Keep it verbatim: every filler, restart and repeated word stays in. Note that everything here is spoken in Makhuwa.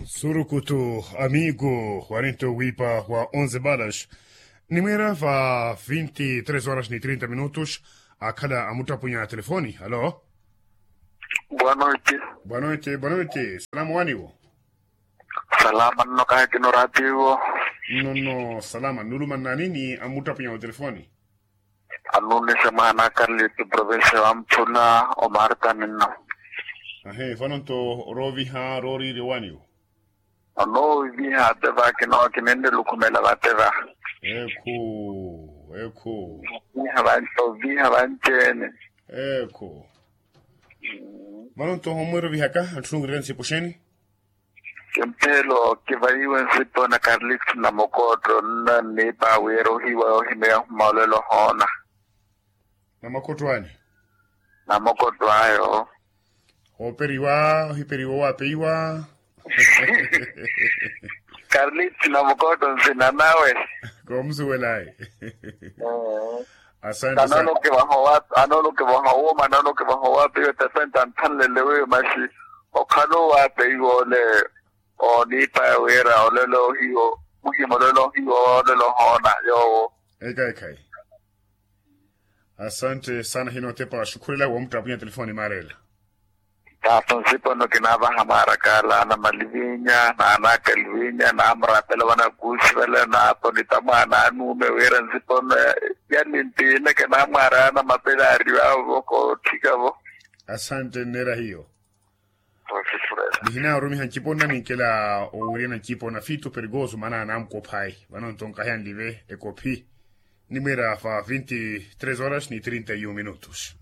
Surukutu amigo warinto wipa wa onze balas. Nimwira va vinti tres horas ni trinta minutos. Akhala amuttapunya telefoni alo. Boa noite. Boa noite boa noite salama waniwo. Salama nno kahekino ratiwo. Nno nno salama nuluma nnani ni amuttapunya wa telefoni. Anunise mwaana a karlito provincia wa mphula omarta ninno. Ahe vano nto rooviha rooriirya owaniwo. Onooviha ate va kinookinenrela okhumela vate va. Ekhu. Ekhu. Oviha vanci-ene. Ekhu. Vano nto homwira ovihaka antthunungirya nsipo xeeni. Kimphelo kivahiwe nsipo na karlito na mokotto nna nniipa wira ohiwa yohimeya ohuma olelo hoona. Na mokotto ani? Na mokotto ayo. Ooperiwa ohiperiwa owapeiwa. Karlito na mokotto nsina nawe. Koomusuwelayi. Asante sana. Anoolokivaha owapeiwa tatanti anthanlele wiyo maxi okhala owapeiwa ole. Oniipaya wira olelo hiyo muhima olelo hiyo olelo hoona yoowo. Ekhayi ekhayi. Asante sana hinotepa xukhurela woomuttapunya telefoni maarela. Taato nsipono kinaavaha maarakaala na malivinya na anakalivinya na amurapela vanakuusi vale naapo nita mwaana anuume wira nsipono yalintine kinaamwaaraya na mapelaari vaavo kootthikavo. Asante nneera hiyo. Nihina orumiha ncipo nna ninkela owiryana ncipo na fito perigoso maana anamukophayi vano nto nkahiya nlive ekophi. Nimwira va vinti tres horas ni trinta y un minutos.